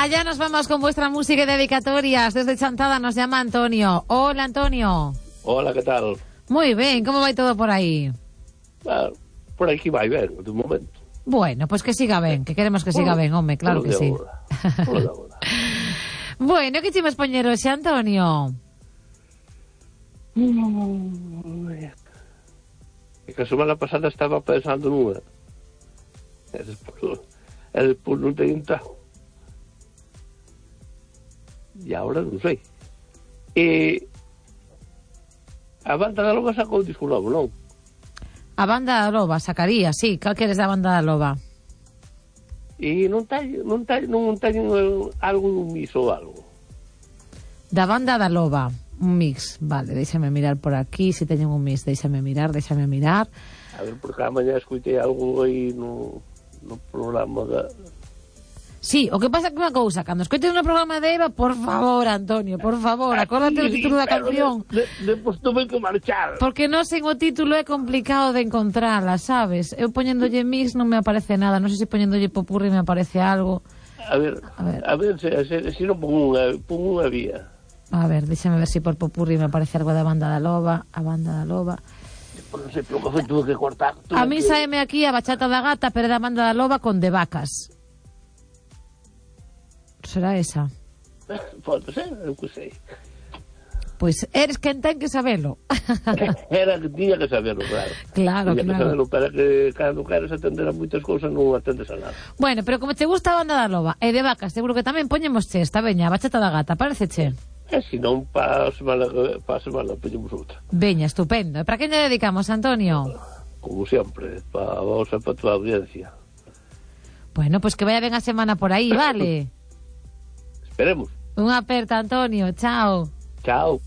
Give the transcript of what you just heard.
Allá nos vamos con vuestra música y dedicatorias. Desde Chantada nos llama Antonio. Hola, Antonio. Hola, ¿qué tal? Muy bien, ¿cómo va todo por ahí? Por aquí va bien, de momento. Bueno, pues que siga bien, que queremos que siga bien, hombre, claro que sí. Bueno, que chimos poñer hoxe, Antonio? Que a semana pasada estaba pensando nunha. E despois non teño entrado. E agora non sei. E a banda da Loba sacou un disco novo, non? A banda da Loba sacaría, sí. Cal queres da banda da Loba? E non teño algo dun mix ou algo. Da banda da Loba, un mix. Vale, déxame mirar por aquí. Se teñen un mix, déxame mirar. A ver, porque a mañá escoitei algo aí no programa da... Sí, o que pasa que unha cousa, cando escoites no programa de Eva, por favor, Antonio, por favor, acórdate o título da canción. Depois tuve que marchar. Porque non sen o título é complicado de encontrarla, sabes? Eu poñéndolle mix non me aparece nada, non sei se poñéndolle popurri me aparece algo. A ver se non pon unha vía. A ver, déxame ver se por popurri me aparece algo da banda da Loba, a banda da Loba. Non sei pelo que foi, tuve que cortar. A mí saeme aquí a bachata da gata, pero é da banda da Loba con de vacas. Será esa? Pode ser, eu que sei. Pois eres quen ten que sabelo. Era que tiña que saberlo, claro. Claro, tiña claro. Que saberlo, para que cando queres atender a moitas cousas non atendes a nada. Bueno, pero como te gusta a banda da Loba e de vacas, seguro que tamén poñemos esta, veña, a bachata da gata, pareceche? E se non, para a semana poñemos outra. Veña, estupendo. E para quen lle dedicamos, Antonio? Como sempre, para vos e para a tua audiencia. Bueno, pois que vaya ben a semana por aí, vale? Esperemos. Unha aperta, Antonio, chao. Chao.